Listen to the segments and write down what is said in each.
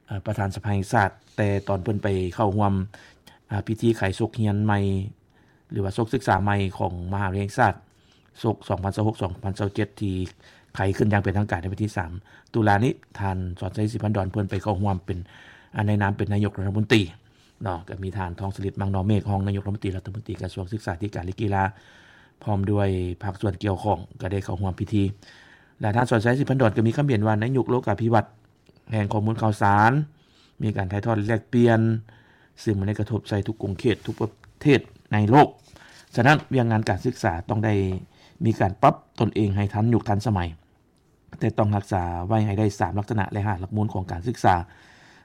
ເອີ່ ປະທານສະພາແຫ່ງຊາດ ແຕ່ຕອນເພິ່ນໄປເຂົ້າຮ່ວມ ອາ ພິທີໄຂສົກຮຽນໃໝ່ ຫຼືວ່າສົກສຶກສາໃໝ່ຂອງມະຫາວິທະຍາໄລແຫ່ງຊາດ ສົກສອງພັນຊາວຫົກ ສອງພັນຊາວເຈັດ ທີ່ໄຂຂຶ້ນຢ່າງເປັນທາງການໃນວັນທີສາມຕຸລານີ້ ທ່ານສອນໄຊ ສີພັນດອນ ເພິ່ນໄປເຂົ້າຮ່ວມເປັນ ອາ ໃນນາມເປັນນາຍົກລັດຖະມົນຕີເນາະ. ກໍມີທ່ານ ທອງສະລິດ ໝາກໜອງເມກ ຮອງນາຍົກລັດຖະມົນຕີ ກະຊວງສຶກສາທິການ ແລະ ກິລາ ພ້ອມດ້ວຍພາກສ່ວນກ່ຽວຂ້ອງ ກໍໄດ້ເຂົ້າຮ່ວມພິທີ ແລະ ທ່ານ ສອນໄຊ ສີພັນດອນ ກໍມີຄຳເຫັນວ່າ ໃນຍຸກໂລກາພິວັດ ແຫ່ງຂໍ້ມູນຂ່າວສານ, ມີການຖ່າຍທອດແລກປ່ຽນ, ຊຶ່ງມັນໄດ້ກະທົບໃສ່ທຸກຂົງເຂດ, ທຸກປະເທດໃນໂລກ. ສະນັ້ນ, ວຽກງານການສຶກສາຕ້ອງໄດ້ມີການປັບຕົນເອງໃຫ້ທັນຍຸກທັນສະໄໝ, ແຕ່ຕ້ອງຮັກສາໄວ້ໃຫ້ໄດ້ສາມລັກສະນະ ແລະ ຫ້າຫຼັກມູນຂອງການສຶກສາ,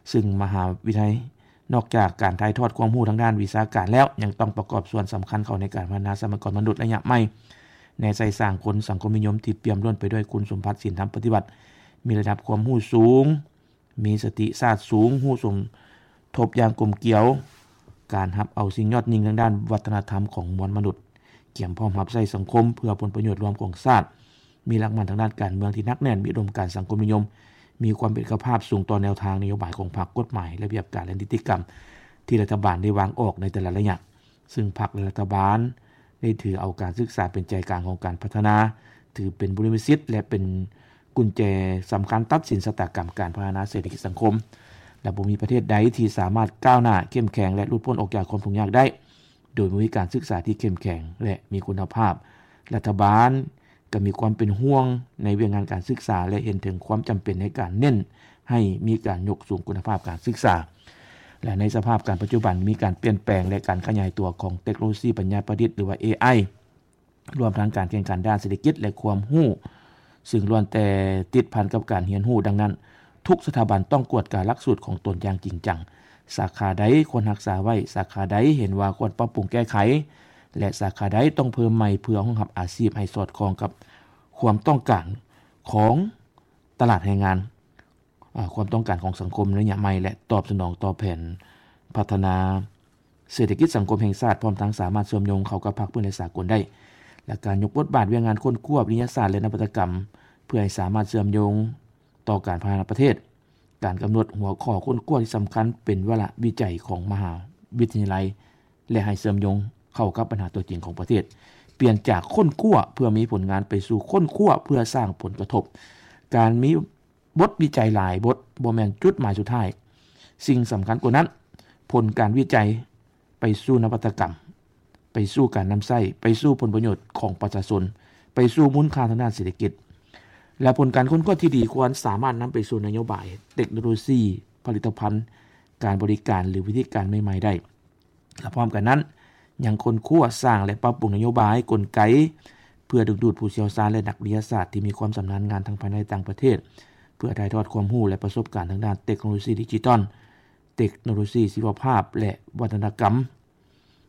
ຊຶ່ງມະຫາວິທະຍາໄລ ນອກຈາກການຖ່າຍທອດຄວາມຮູ້ທາງດ້ານວິຊາການແລ້ວ, ຍັງຕ້ອງປະກອບສ່ວນສຳຄັນເຂົ້າໃນການພັດທະນາຊັບພະຍາກອນມະນຸດໄລຍະໃໝ່, ແນໃສ່ສ້າງຄົນສັງຄົມນິຍົມທີ່ປ່ຽມລ້ວນໄປດ້ວຍຄຸນສົມບັດສິນທຳປະຕິວັດ, ມີລະດັບຄວາມຮູ້ສູງ, ມີສະຕິສາດສູງ, ຮູ້ສົມທົບຢ່າງກົມກຽວ, ການຮັບເອົາສິ່ງຍອດຍິ່ງທາງດ້ານວັດທະນະທຳຂອງມວນມະນຸດ, ກຽມພ້ອມຮັບໃຊ້ສັງຄົມເພື່ອຜົນປະໂຫຍດລວມຂອງຊາດ, ມີຫຼັກໝັ້ນທາງດ້ານການເມືອງທີ່ໜັກແໜ້ນ, ມີອຸດົມການສັງຄົມນິຍົມ, ມີຄວາມເປັນເອກະພາບສູງຕໍ່ແນວທາງນະໂຍບາຍຂອງພັກ, ກົດໝາຍ, ລະບຽບການ ແລະ ນິຕິກຳທີ່ລັດຖະບານໄດ້ວາງອອກໃນແຕ່ລະໄລຍະ, ຊຶ່ງພັກ ແລະ ລັດຖະບານໄດ້ຖືເອົາການສຶກສາເປັນໃຈກາງຂອງການພັດທະນາ, ຖືເປັນບຸລິມະສິດ ແລະ ເປັນກຸນແຈສຳຄັນຕັດສິນຊະຕາກຳການພັດທະນາເສດຖະກິດສັງຄົມ ແລະ ບໍ່ມີປະເທດໃດທີ່ສາມາດກ້າວໜ້າ, ເຂັ້ມແຂງ ແລະ ຫຼຸດພົ້ນອອກຈາກຄວາມທຸກຍາກໄດ້ ໂດຍບໍ່ມີການສຶກສາທີ່ເຂັ້ມແຂງ ແລະ ມີຄຸນນະພາບ. ລັດຖະບານກໍມີຄວາມເປັນຫ່ວງໃນວຽກງານການສຶກສາ ແລະ ເຫັນເຖິງຄວາມຈຳເປັນໃນການເນັ້ນໃຫ້ມີການຍົກສູງຄຸນນະພາບການສຶກສາ. ແລະ ໃນສະພາບການປັດຈຸບັນ ມີການປ່ຽນແປງ ແລະ ການຂະຫຍາຍຕົວຂອງເຕັກໂນໂລຊີປັນຍາປະດິດ ຫຼືວ່າ ເອໄອ ລວມທັງການແຂ່ງຂັນດ້ານເສດຖະກິດ ແລະ ຄວາມຮູ້, ຊຶ່ງລ້ວນແຕ່ຕິດພັນກັບການຮຽນຮູ້. ດັ່ງນັ້ນ, ທຸກສະຖາບັນຕ້ອງກວດກາຫຼັກສູດຂອງຕົນຢ່າງຈິງຈັງ. ສາຂາໃດຄວນຮັກສາໄວ້, ສາຂາໃດເຫັນວ່າຄວນປັບປຸງແກ້ໄຂ ແລະ ສາຂາໃດຕ້ອງເພີ່ມໃໝ່ເພື່ອຮອງຮັບອາຊີບໃຫ້ສອດຄ່ອງກັບຄວາມຕ້ອງການຂອງຕະຫຼາດແຮງງານ, ອາ, ຄວາມຕ້ອງການຂອງສັງຄົມໃນໄລຍະໃໝ່ ແລະ ຕອບສະໜອງຕໍ່ແຜນພັດທະນາເສດຖະກິດສັງຄົມແຫ່ງຊາດ, ພ້ອມທັງສາມາດເຊື່ອມໂຍງເຂົ້າກັບພາກພື້ນ ແລະ ສາກົນໄດ້. ແລະ ການຍົກບົດບາດວຽກງານຄົ້ນຄວ້າ, ວິທະຍາສາດ ແລະ ນະວັດຕະກຳ ເພື່ອໃຫ້ສາມາດເຊື່ອມໂຍງຕໍ່ການພັດທະນາປະເທດ. ການກຳນົດຫົວຂໍ້ຄົ້ນຄວ້າທີ່ສຳຄັນເປັນວາລະວິໄຈຂອງມະຫາວິທະຍາໄລ ແລະ ໃຫ້ເຊື່ອມໂຍງເຂົ້າກັບບັນຫາຕົວຈິງຂອງປະເທດ. ປ່ຽນຈາກຄົ້ນຄວ້າເພື່ອມີຜົນງານໄປສູ່ຄົ້ນຄວ້າເພື່ອສ້າງຜົນກະທົບ. ການມີ ບົດວິໄຈຫຼາຍບົດບໍ່ແມ່ນຈຸດໝາຍສຸດທ້າຍ. ສິ່ງສຳຄັນກວ່ານັ້ນ, ຜົນການວິໄຈໄປສູ່ນະວັດຕະກຳ, ໄປສູ່ການນຳໃຊ້, ໄປສູ່ຜົນປະໂຫຍດຂອງປະຊາຊົນ, ໄປສູ່ມູນຄ່າທາງດ້ານເສດຖະກິດ ແລະ ຜົນການຄົ້ນຄວ້າທີ່ດີຄວນສາມາດນຳໄປສູ່ນະໂຍບາຍ, ເຕັກໂນໂລຊີ, ຜະລິດຕະພັນ, ການບໍລິການ ຫຼື ວິທີການໃໝ່ໆໄດ້. ແລະ ພ້ອມກັນນັ້ນ, ຍັງຄົ້ນຄວ້າ, ສ້າງ ແລະ ປັບປຸງນະໂຍບາຍ, ກົນໄກ ເພື່ອດຶງດູດຜູ້ຊ່ຽວຊານ ແລະ ນັກວິທະຍາສາດທີ່ມີຄວາມຊຳນານງານທັງພາຍໃນ ແລະ ຕ່າງປະເທດ, ເພື່ອຖ່າຍທອດຄວາມຮູ້ ແລະ ປະສົບການທາງດ້ານເຕັກໂນໂລຊີດິຈິຕອນ, ເຕັກໂນໂລຊີຊີວະພາບ ແລະ ວັດທະນະກຳ,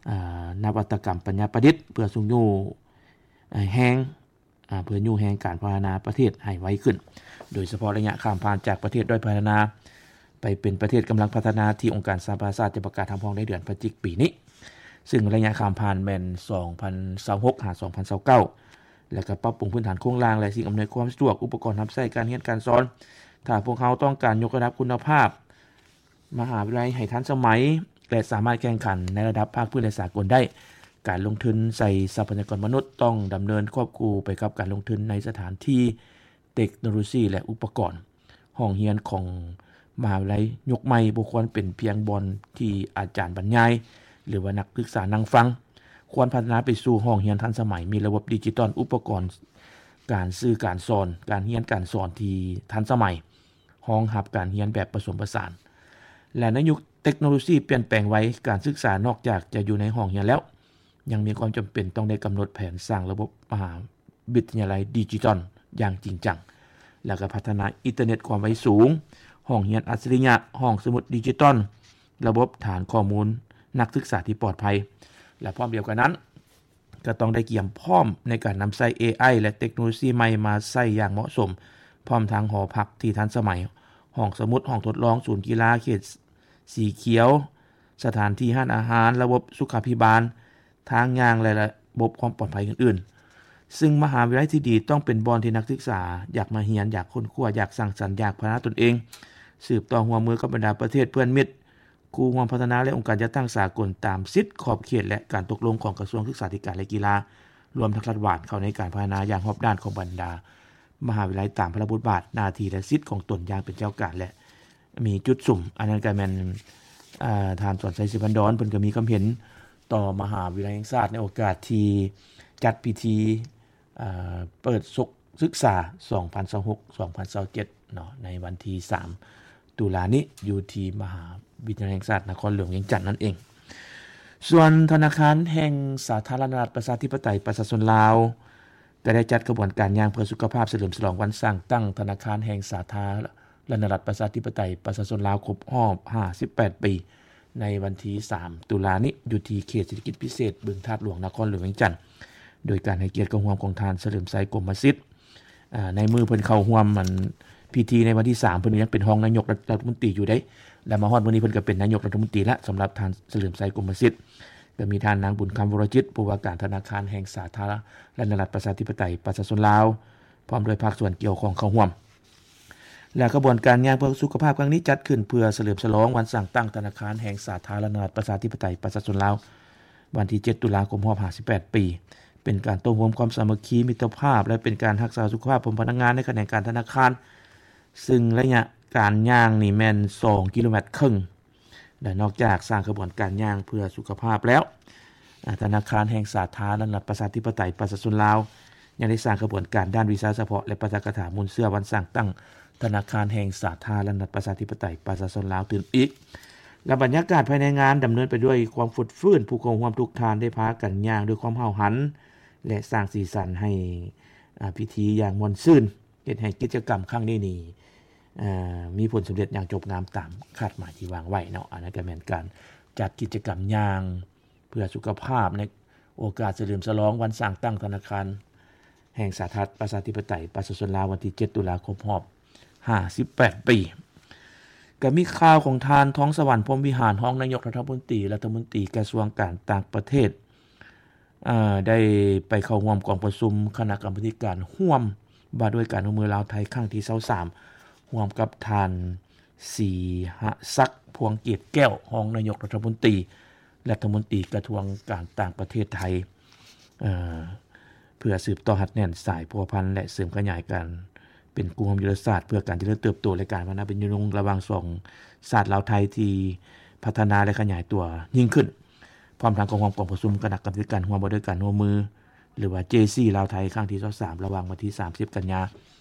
ອາ, ນະວັດຕະກຳປັນຍາປະດິດ, ເພື່ອຊຸກຍູ້, ອາ, ແຮງ ອາ ເພື່ອຍູ້ແຮງການພັດທະນາປະເທດໃຫ້ໄວຂຶ້ນ, ໂດຍສະເພາະໄລຍະຂ້າມຜ່ານຈາກປະເທດດ້ອຍພັດທະນາໄປເປັນປະເທດກຳລັງພັດທະນາ ທີ່ອົງການສະຫະປະຊາຊາດຈະປະກາດຮັບຮອງໃນເດືອນພະຈິກປີນີ້, ຊຶ່ງໄລຍະຂ້າມຜ່ານແມ່ນສອງພັນຊາວຫົກຫາສອງພັນຊາວເກົ້າ ແລະ ກໍປັບປຸງພື້ນຖານໂຄງລ່າງ ແລະ ສິ່ງອຳນວຍຄວາມສະດວກ, ອຸປະກອນຮັບໃຊ້ການຮຽນການສອນ. ຖ້າພວກເຮົາຕ້ອງການຍົກລະດັບຄຸນນະພາບ ມະຫາວິທະຍາໄລໃຫ້ທັນສະໄໝ ແລະ ສາມາດແຂ່ງຂັນໃນລະດັບພາກພື້ນ ແລະ ສາກົນໄດ້. ການລົງທຶນໃສ່ຊັບພະຍາກອນມະນຸດຕ້ອງດຳເນີນຄວບຄູ່ໄປກັບການລົງທຶນໃນສະຖານທີ່, ເຕັກໂນໂລຊີ ແລະ ອຸປະກອນ. ຫ້ອງຮຽນຂອງມະຫາວິທະຍາໄລຍຸກໃໝ່ບໍ່ຄວນເປັນພຽງບ່ອນທີ່ອາຈານບັນຍາຍ ຫຼືວ່ານັກສຶກສານັ່ງຟັງ. ຄວນພັດທະນາໄປສູ່ຫ້ອງຮຽນທັນສະໄໝ, ມີລະບົບດິຈິຕອນ, ອຸປະກອນການສື່ການສອນ, ການຮຽນການສອນທີ່ທັນສະໄໝ. ຮອງຮັບການຮຽນແບບປະສົມປະສານ ແລະ ໃນຍຸກເຕັກໂນໂລຊີປ່ຽນແປງໄວ, ການສຶກສານອກຈາກຈະຢູ່ໃນຫ້ອງຮຽນແລ້ວ, ຍັງມີຄວາມຈຳເປັນຕ້ອງໄດ້ກຳນົດແຜນສ້າງລະບົບມະຫາວິທະຍາໄລດິຈິຕອນຢ່າງຈິງຈັງ, ແລະ ກໍພັດທະນາອິນເຕີເນັດຄວາມໄວສູງ, ຫ້ອງຮຽນອັດສະລິຍະ, ຫ້ອງສະໝຸດດິຈິຕອນ, ລະບົບຖານຂໍ້ມູນນັກສຶກສາທີ່ປອດໄພ ແລະ ພ້ອມດຽວກັນນັ້ນ, ກໍຕ້ອງໄດ້ກຽມພ້ອມໃນການນຳໃຊ້ ເອໄອ ແລະ ເຕັກໂນໂລຊີໃໝ່ມາໃຊ້ຢ່າງເໝາະສົມ, ພ້ອມທັງຫໍພັກທີ່ທັນສະໄໝ, ຫ້ອງສະໝຸດ, ຫ້ອງທົດລອງ, ສູນກິລາ, ເຂດສີຂຽວ, ສະຖານທີ່ຮ້ານອາຫານ, ລະບົບສຸຂາພິບານ, ທາງຍ່າງ ແລະ ລະບົບຄວາມປອດໄພອື່ນໆ. ຊຶ່ງມະຫາວິທະຍາໄລທີ່ດີຕ້ອງເປັນບ່ອນທີ່ນັກສຶກສາຢາກມາຮຽນ, ຢາກຄົ້ນຄວ້າ, ຢາກສ້າງສັນ, ຢາກພັດທະນາຕົນເອງ, ສືບຕໍ່ຮ່ວມມືກັບບັນດາປະເທດເພື່ອນມິດ, ຄູ່ຮ່ວມພັດທະນາ ແລະ ອົງການຈັດຕັ້ງສາກົນ ຕາມສິດ, ຂອບເຂດ ແລະ ການຕົກລົງຂອງກະຊວງສຶກສາທິການ ແລະ ກິລາ, ລວມທັງລັດຖະບານ ເຂົ້າໃນການພັດທະນາຢ່າງຮອບດ້ານຂອງບັນດາມະຫາວິທະຍາໄລ ຕາມພາລະບົດບາດ, ໜ້າທີ່ ແລະ ສິດຂອງຕົນຢ່າງເປັນແຈວການ ແລະ ມີຈຸດສຸມ. ອັນນັ້ນກໍແມ່ນ ອາ ທ່ານ ສອນໄຊ ສີພັນດອນ ເພິ່ນກໍມີຄວາມເຫັນຕໍ່ມະຫາວິທະຍາໄລແຫ່ງຊາດ ໃນໂອກາດທີ່ຈັດພິທີ ອາ ເປີດສົກສຶກສາ ສອງພັນຊາວຫົກ ສອງພັນຊາວເຈັດ ເນາະ ໃນວັນທີສາມ ຕຸລານີ້ ຢູ່ທີ່ມະຫາວິທະຍາໄລແຫ່ງຊາດນະຄອນຫຼວງວຽງຈັນນັ້ນເອງ. ສ່ວນທະນາຄານແຫ່ງສາທາລະນະລັດ ປະຊາທິປະໄຕ ປະຊາຊົນລາວ ກໍໄດ້ຈັດຂະບວນການຍ່າງເພື່ອສຸຂະພາບ ສະເຫຼີມສະຫຼອງວັນສ້າງຕັ້ງທະນາຄານແຫ່ງສາທາລະນະລັດ ປະຊາທິປະໄຕ ປະຊາຊົນລາວ ຄົບຮອບຫ້າສິບແປດປີ ໃນວັນທີສາມ ຕຸລານີ້ ຢູ່ທີ່ເຂດເສດຖະກິດພິເສດບຶງທາດຫຼວງ ນະຄອນຫຼວງວຽງຈັນ, ໂດຍການໃຫ້ກຽດເຂົ້າຮ່ວມຂອງທ່ານ ສະເຫຼີມໄຊ ກົມມະສິດ. ອາ ໃນມື້ເພິ່ນເຂົ້າຮ່ວມ ອັນ ພິທີໃນວັນທີສາມ ເພິ່ນກໍຍັງເປັນຮອງນາຍົກລັດຖະມົນຕີຢູ່ເດ້, ແລະ ມາຮອດມື້ນີ້ເພິ່ນກໍເປັນນາຍົກລັດຖະມົນຕີລະ ສຳລັບທ່ານ ສະເຫຼີມໄຊ ກົມມະສິດ. ກໍມີທ່ານນາງ ບຸນຄຳ ວໍລະຈິດ ຜູ້ວ່າການທະນາຄານແຫ່ງສາທາລະນະລັດ ປະຊາທິປະໄຕ ປະຊາຊົນລາວ ພ້ອມດ້ວຍພາກສ່ວນກ່ຽວຂ້ອງເຂົ້າຮ່ວມ. ແລະ ຂະບວນການຍ່າງເພື່ອສຸຂະພາບຄັ້ງນີ້ ຈັດຂຶ້ນເພື່ອສະເຫຼີມສະຫຼອງວັນສ້າງຕັ້ງທະນາຄານແຫ່ງສາທາລະນະລັດ ປະຊາທິປະໄຕ ປະຊາຊົນລາວ ວັນທີເຈັດ ຕຸລາ ຄົບຮອບຫ້າສິບແປດປີ, ເປັນການໂຕ້ໂຮມຄວາມສາມັກຄີມິດຕະພາບ ແລະ ເປັນການຮັກສາສຸຂະພາບຂອງພະນັກງານໃນຂະແໜງການທະນາຄານ, ຊຶ່ງໄລຍະການຍ່າງນີ້ແມ່ນສອງກິໂລແມັດເຄິ່ງ. ແລະ ນອກຈາກສ້າງຂະບວນການຍ່າງເພື່ອສຸຂະພາບແລ້ວ, ອາ ທະນາຄານແຫ່ງສາທາລະນະລັດ ປະຊາທິປະໄຕ ປະຊາຊົນລາວ ຍັງໄດ້ສ້າງຂະບວນການດ້ານວິຊາສະເພາະ ແລະ ປາຖະກະຖາມູນເຊື້ອວັນສ້າງຕັ້ງທະນາຄານແຫ່ງສາທາລະນະລັດ ປະຊາທິປະໄຕ ປະຊາຊົນລາວຕື່ມອີກ. ແລະ ບັນຍາກາດພາຍໃນງານດຳເນີນໄປດ້ວຍຄວາມຟົດຟື້ນ, ຜູ້ເຂົ້າຮ່ວມທຸກທ່ານໄດ້ພາກັນຍ່າງດ້ວຍຄວາມຫ້າວຫັນ ແລະ ສ້າງສີສັນໃຫ້ ອາ ພິທີຢ່າງມ່ວນຊື່ນ. ເຮັດໃຫ້ກິດຈະກຳຄັ້ງນີ້ນີ້ ເອີ ມີຜົນສຳເລັດຢ່າງຈົບງາມຕາມຄາດໝາຍທີ່ວາງໄວ້ເນາະ. ອັນນັ້ນກໍແມ່ນການຈັດກິດຈະກຳຍ່າງເພື່ອສຸຂະພາບ ໃນໂອກາດສະເຫຼີມສະຫຼອງວັນສ້າງຕັ້ງທະນາຄານແຫ່ງສາທາລະນະລັດ ປະຊາທິປະໄຕ ປະຊາຊົນລາວ ວັນທີເຈັດ ຕຸລາ ຄົບຮອບຫ້າສິບແປດປີ. ກໍມີຂ່າວຂອງທ່ານ ທອງສະຫວັນ ພົມວິຫານ ຮອງນາຍົກລັດຖະມົນຕີ, ລັດຖະມົນຕີກະຊວງການຕ່າງປະເທດ ເອີ ໄດ້ໄປເຂົ້າຮ່ວມກອງປະຊຸມຄະນະກຳມາທິການຮ່ວມວ່າດ້ວຍການຮ່ວມມືລາວ-ໄທ ຄັ້ງທີຊາວສາມ ຮ່ວມກັບທ່ານ ສີຫະສັກ ພວງເກດແກ້ວ ຮອງນາຍົກລັດຖະມົນຕີ, ລັດຖະມົນຕີກະຊວງການຕ່າງປະເທດໄທ ເອີ ເພື່ອສືບຕໍ່ຮັດແໜ້ນສາຍພົວພັນ ແລະ ເສີມຂະຫຍາຍການເປັນຄູ່ຮ່ວມຍຸດທະສາດ ເພື່ອການຈະເລີນເຕີບໂຕ ແລະ ການພັດທະນາເປັນຍືນຍົງລະຫວ່າງສອງຊາດລາວ-ໄທ ທີ່ພັດທະນາ ແລະ ຂະຫຍາຍຕົວຍິ່ງຂຶ້ນ. ພ້ອມທັງເຂົ້າຮ່ວມກອງປະຊຸມຄະນະກຳມາທິການຮ່ວມວ່າດ້ວຍການຮ່ວມມື ຫຼືວ່າ ເຈຊີ ລາວ-ໄທ ຄັ້ງທີຊາວສາມ ລະຫວ່າງວັນທີສາມສິບ ກັນຍາ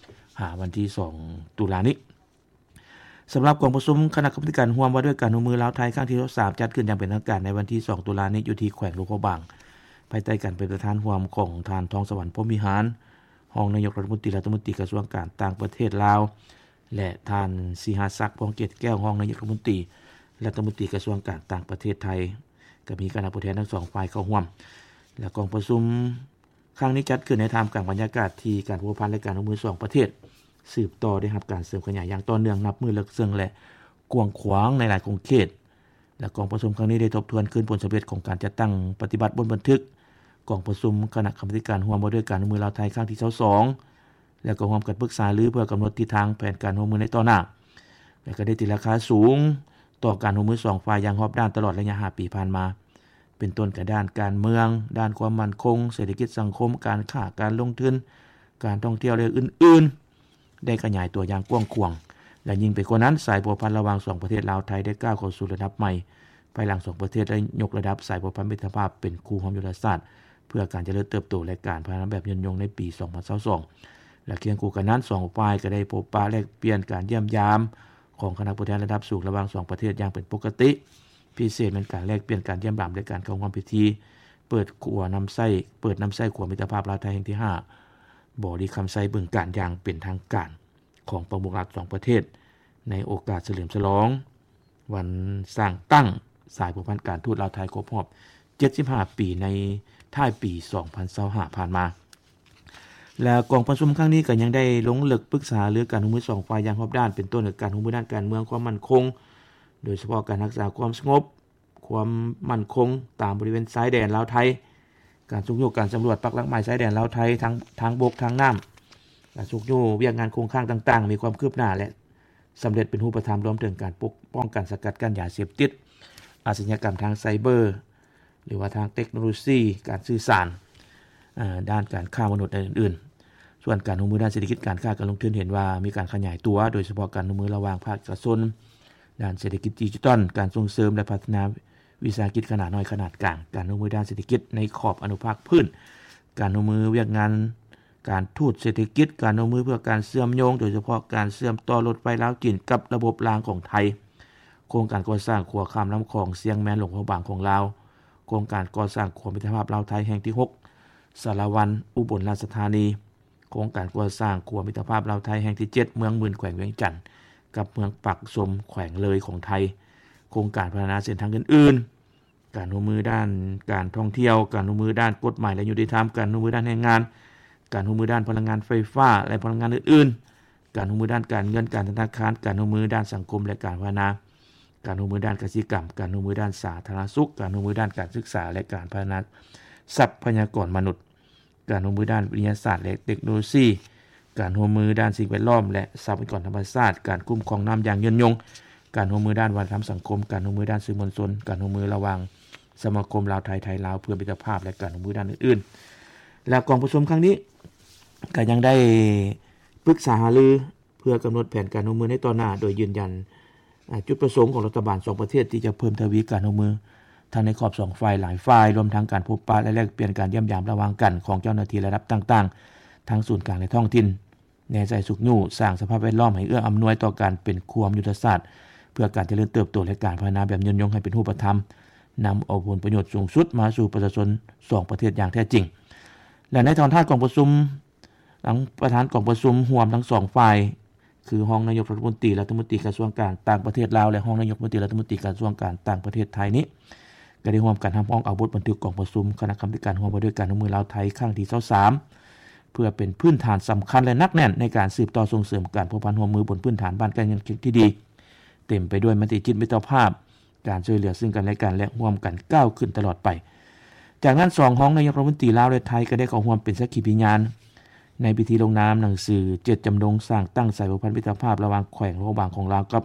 ຫາວັນທີສອງ ຕຸລານີ້. ສຳລັບກອງປະຊຸມຄະນະກຳມາທິການຮ່ວມວ່າດ້ວຍການຮ່ວມມືລາວ-ໄທ ຄັ້ງທີຊາວສາມ ຈັດຂຶ້ນຢ່າງເປັນທາງການໃນວັນທີສອງ ຕຸລານີ້ ຢູ່ທີ່ແຂວງຫຼວງພະບາງ ພາຍໃຕ້ການເປັນປະທານຮ່ວມຂອງທ່ານ ທອງສະຫວັນ ພົມວິຫານ ຮອງນາຍົກລັດຖະມົນຕີ, ລັດຖະມົນຕີກະຊວງການຕ່າງປະເທດລາວ ແລະ ທ່ານ ສີຫະສັກ ພວງເກດແກ້ວ ຮອງນາຍົກລັດຖະມົນຕີ, ລັດຖະມົນຕີກະຊວງການຕ່າງປະເທດໄທ, ກໍມີຄະນະຜູ້ແທນທັງສອງຝ່າຍເຂົ້າຮ່ວມ. ແລະ ກອງປະຊຸມຄັ້ງນີ້ຈັດຂຶ້ນໃນທ່າມກາງບັນຍາກາດທີ່ການພົວພັນ ແລະ ການຮ່ວມມືສອງປະເທດ ສືບຕໍ່ໄດ້ຮັບການເສີມຂະຫຍາຍຢ່າງຕໍ່ເນື່ອງ ນັບມື້ເລິກເຊິ່ງ ແລະ ກວ້າງຂວາງໃນຫຼາຍຂົງເຂດ. ແລະ ກອງປະຊຸມຄັ້ງນີ້ໄດ້ທົບທວນຄືນຜົນສຳເລັດຂອງການຈັດຕັ້ງປະຕິບັດບົດບັນທຶກກອງປະຊຸມຄະນະກຳມາທິການຮ່ວມວ່າດ້ວຍການຮ່ວມມືລາວ-ໄທ ຄັ້ງທີຊາວສອງ ແລະ ກໍຮ່ວມກັນປຶກສາລືເພື່ອກຳນົດທິດທາງແຜນການຮ່ວມມືໃນຕໍ່ໜ້າ ແລະ ກໍໄດ້ຕີລາຄາສູງຕໍ່ການຮ່ວມມືສອງຝ່າຍຢ່າງຮອບດ້ານຕະຫຼອດໄລຍະຫ້າປີຜ່ານມາ ເປັນຕົ້ນກະດ້ານການເມືອງ, ດ້ານຄວາມໝັ້ນຄົງ, ເສດຖະກິດສັງຄົມ, ການຄ້າ, ການລົງທຶນ, ການທ່ອງທ່ຽວ ແລະ ອື່ນໆ ໄດ້ຂະຫຍາຍຕົວຢ່າງກວ້າງຂວາງ ແລະ ຍິ່ງໄປກວ່ານັ້ນ ສາຍພົວພັນລະຫວ່າງສອງປະເທດລາວ-ໄທ ໄດ້ກ້າວເຂົ້າສູ່ລະດັບໃໝ່ ພາຍຫຼັງສອງປະເທດໄດ້ຍົກລະດັບສາຍພົວພັນມິດຕະພາບເປັນຄູ່ຮ່ວມຍຸດທະສາດ ເພື່ອການຈະເລີນເຕີບໂຕ ແລະ ການພັດທະນາແບບຍືນຍົງໃນປີສອງພັນຊາວສອງ ແລະ ຄຽງຄູ່ກັນນັ້ນ ສອງຝ່າຍກໍໄດ້ພົບປະແລກປ່ຽນການຢ້ຽມຢາມຂອງຄະນະຜູ້ແທນລະດັບສູງລະຫວ່າງສອງປະເທດຢ່າງເປັນປົກກະຕິ ພິເສດແມ່ນການແລກປ່ຽນການຢ້ຽມຢາມ ແລະ ການເຂົ້າຮ່ວມພິທີເປີດຂົວນຳໃຊ້ ເປີດນຳໃຊ້ຂົວມິດຕະພາບລາວ-ໄທແຫ່ງທີຫ້າ ບໍລິຄຳໄຊ ບຶງການ ຢ່າງເປັນທາງການຂອງປະມຸກລັດສອງປະເທດ ໃນໂອກາດສະເຫຼີມສະຫຼອງ ວັນສ້າງຕັ້ງສາຍພົວພັນການທູດລາວ-ໄທຄົບຮອບເຈັດສິບຫ້າປີ ໃນທ້າຍປີສອງພັນຊາວຫ້າຜ່ານມາ. ແລະ ກອງປະຊຸມຄັ້ງນີ້ກໍຍັງໄດ້ລົງເລິກປຶກສາຫາລືການຮ່ວມມືສອງຝ່າຍຢ່າງຮອບດ້ານ ເປັນຕົ້ນການຮ່ວມມືດ້ານການເມືອງ, ຄວາມໝັ້ນຄົງ, ໂດຍສະເພາະການຮັກສາຄວາມສະຫງົບ, ຄວາມໝັ້ນຄົງຕາມບໍລິເວນຊາຍແດນລາວ-ໄທ, ການຊຸກຍູ້ການສຳຫຼວດປັກຫຼັກໝາຍຊາຍແດນລາວ-ໄທ ທັງທາງບົກ, ທາງນ້ຳ, ການຊຸກຍູ້ວຽກງານຄົງຄ້າງຕ່າງໆ ມີຄວາມຄືບໜ້າ ແລະ ສຳເລັດເປັນຮູບປະທຳ ລວມເຖິງການປົກປ້ອງກັນສະກັດກັ້ນຢາເສບຕິດ, ອາຊະຍາກຳທາງໄຊເບີ ຫຼືວ່າທາງເຕັກໂນໂລຊີ, ການສື່ສານ, ເອີ່ ດ້ານການຄ້າມະນຸດ ແລະ ອື່ນໆ. ສ່ວນການຮ່ວມມືດ້ານເສດຖະກິດ, ການຄ້າ, ການລົງທຶນ ເຫັນວ່າມີການຂະຫຍາຍຕົວ, ໂດຍສະເພາະການຮ່ວມມືລະຫວ່າງພາກເອກະຊົນ ດ້ານເສດຖະກິດດິຈິຕອນ, ການສົ່ງເສີມ ແລະ ພັດທະນາວິສາຫະກິດຂະໜາດນ້ອຍ, ຂະໜາດກາງ, ການຮ່ວມມືດ້ານເສດຖະກິດໃນຂອບອະນຸພາກພື້ນ, ການຮ່ວມມືວຽກງານ ການທູດເສດຖະກິດ, ການຮ່ວມມືເພື່ອການເຊື່ອມໂຍງ, ໂດຍສະເພາະການເຊື່ອມຕໍ່ລົດໄຟລາວ-ຈີນກັບລະບົບລາງຂອງໄທ, ໂຄງການກໍ່ສ້າງຂົວຂ້າມນ້ຳຂອງຊຽງແມນ ຫຼວງພະບາງຂອງລາວ, ໂຄງການກໍ່ສ້າງຂົວມິດຕະພາບລາວ-ໄທແຫ່ງທີຫົກ ສາລະວັນ ອຸບົນລາຊະທານີ, ໂຄງການກໍ່ສ້າງຂົວມິດຕະພາບລາວ-ໄທແຫ່ງທີເຈັດ ເມືອງໝື່ນ ແຂວງວຽງຈັນ ກັບເມືອງປາກຊົມ ແຂວງເລີຍຂອງໄທ, ໂຄງການພັດທະນາເສັ້ນທາງອື່ນໆ, ການຮ່ວມມືດ້ານການທ່ອງທ່ຽວ, ການຮ່ວມມືດ້ານກົດໝາຍ ແລະ ຍຸຕິທຳ, ການຮ່ວມມືດ້ານແຮງງານ, ການຮ່ວມມືດ້ານພະລັງງານໄຟຟ້າ ແລະ ພະລັງງານອື່ນໆ, ການຮ່ວມມືດ້ານການເງິນການທະນາຄານ, ການຮ່ວມມືດ້ານສັງຄົມ ແລະ ການພັດທະນາ, ການຮ່ວມມືດ້ານກະສິກຳ, ການຮ່ວມມືດ້ານສາທາລະນະສຸກ, ການຮ່ວມມືດ້ານການສຶກສາ ແລະ ການພັດທະນາຊັບພະຍາກອນມະນຸດ, ການຮ່ວມມືດ້ານວິທະຍາສາດ ແລະ ເຕັກໂນໂລຊີ, ການຮ່ວມມືດ້ານສິ່ງແວດລ້ອມ ແລະ ຊັບພະຍາກອນທຳມະຊາດ, ການຄຸ້ມຄອງນ້ຳຢ່າງຍືນຍົງ, ການຮ່ວມມືດ້ານວັດທະນະທຳສັງຄົມ, ການຮ່ວມມືດ້ານສື່ມວນຊົນ, ການຮ່ວມມືລະຫວ່າງສະມາຄົມລາວໄທ, ໄທລາວ ເພື່ອມິດຕະພາບ ແລະ ການຮ່ວມມືດ້ານອື່ນໆ. ແລະ ກອງປະຊຸມຄັ້ງນີ້ກໍຍັງໄດ້ປຶກສາຫາລື ເພື່ອກຳນົດແຜນການຮ່ວມມືໃນຕໍ່ໜ້າ, ໂດຍຢືນຢັນ ອາ ຈຸດປະສົງຂອງລັດຖະບານສອງປະເທດທີ່ຈະເພີ່ມທະວີການຮ່ວມມືທັງໃນຂອບສອງຝ່າຍ, ຫຼາຍຝ່າຍ, ລວມທັງການພົບປະ ແລະ ແລກປ່ຽນການຢ້ຽມຢາມລະຫວ່າງກັນຂອງເຈົ້າໜ້າທີ່ລະດັບຕ່າງໆ ທັງສູນກາງ ແລະ ທ້ອງຖິ່ນ, ແນໃສ່ຊຸກຍູ້ສ້າງສະພາບແວດລ້ອມໃຫ້ເອື້ອອຳນວຍຕໍ່ການເປັນຄູ່ຮ່ວມຍຸດທະສາດ ເພື່ອການຈະເລີນເຕີບໂຕ ແລະ ການພັດທະນາແບບຍືນຍົງໃຫ້ເປັນຮູບປະທຳ, ນຳເອົາຜົນປະໂຫຍດສູງສຸດມາສູ່ປະຊາຊົນສອງປະເທດຢ່າງແທ້ຈິງ. ແລະ ໃນຕອນທ້າຍກອງປະຊຸມ, ທາງປະທານກອງປະຊຸມຮ່ວມທັງສອງຝ່າຍ ຄືຮອງນາຍົກລັດຖະມົນຕີ ລັດຖະມົນຕີກະຊວງການຕ່າງປະເທດລາວ ແລະ ຮອງນາຍົກລັດຖະມົນຕີກະຊວງການຕ່າງປະເທດໄທນີ້ ກໍໄດ້ຮ່ວມກັນຮັບຮອງເອົາບົດບັນທຶກກອງປະຊຸມຄະນະກຳມະທິການຮ່ວມວ່າດ້ວຍການຮ່ວມມືລາວ-ໄທຄັ້ງທີຊາວສາມ ເພື່ອເປັນພື້ນຖານສຳຄັນ ແລະ ໜັກແໜ້ນໃນການສືບຕໍ່ສົ່ງເສີມການພົວພັນຮ່ວມມືບົນພື້ນຖານບ້ານໃກ້ເມືອງທີ່ດີ, ເຕັມໄປດ້ວຍມະຕິຈິດມິດຕະພາບ, ການຊ່ວຍເຫຼືອຊຶ່ງກັນແລະກັນ ແລະ ຮ່ວມກັນກ້າວຂຶ້ນຕະຫຼອດໄປ. ຈາກນັ້ນ ສອງຮອງນາຍົກລັດຖະມົນຕີລາວ ແລະ ໄທ ກໍໄດ້ເຂົ້າຮ່ວມເປັນສັກຂີພິຍານໃນພິທີລົງນາມໜັງສືເຈດຈຳນົງສ້າງຕັ້ງສາຍພົວພັນມິດຕະພາບລະຫວ່າງແຂວງຫຼວງພະບາງຂອງລາວກັ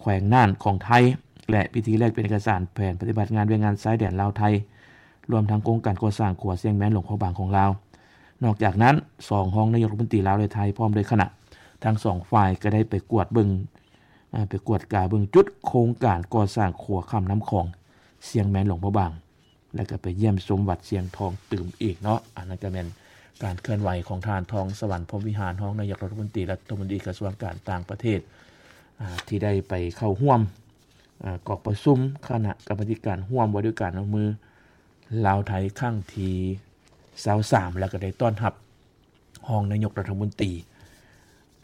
ບແຂວງນ່ານຂອງໄທ ແລະ ພິທີແລກປ່ຽນເອກະສານແຜນປະຕິບັດງານວຽກງານຊາຍແດນລາວ-ໄທ ລວມທັງໂຄງການກໍ່ສ້າງຂົວຊຽງແມນ ຫຼວງພະບາງຂອງລາວ. ນອກຈາກນັ້ນ ສອງຮອງນາຍົກລັດຖະມົນຕີລາວ ແລະ ໄທ ພ້ອມດ້ວຍຄະນະທັງສອງຝ່າຍ ກໍໄດ້ໄປກວດເບິ່ງ ອາ ໄປກວດກາເບິ່ງຈຸດໂຄງການກໍ່ສ້າງຂົວຂ້າມນ້ຳຂອງຊຽງແມນ ຫຼວງພະບາງ ແລະ ກໍໄປຢ້ຽມຊົມວັດຊຽງທອງຕື່ມອີກເນາະ. ອັນນັ້ນກໍແມ່ນການເຄື່ອນໄຫວຂອງທ່ານ ທອງສະຫວັນ ພົມວິຫານ ຮອງນາຍົກລັດຖະມົນຕີ ລັດຖະມົນຕີກະຊວງການຕ່າງປະເທດ ອາ ທີ່ໄດ້ໄປເຂົ້າຮ່ວມ ອາ ກອງປະຊຸມຄະນະກຳມະທິການຮ່ວມວ່າດ້ວຍການຮ່ວມມືລາວ-ໄທຄັ້ງທີຊາວສາມ ແລ້ວກໍໄດ້ຕ້ອນຮັບ ຮອງນາຍົກລັດຖະມົນຕີ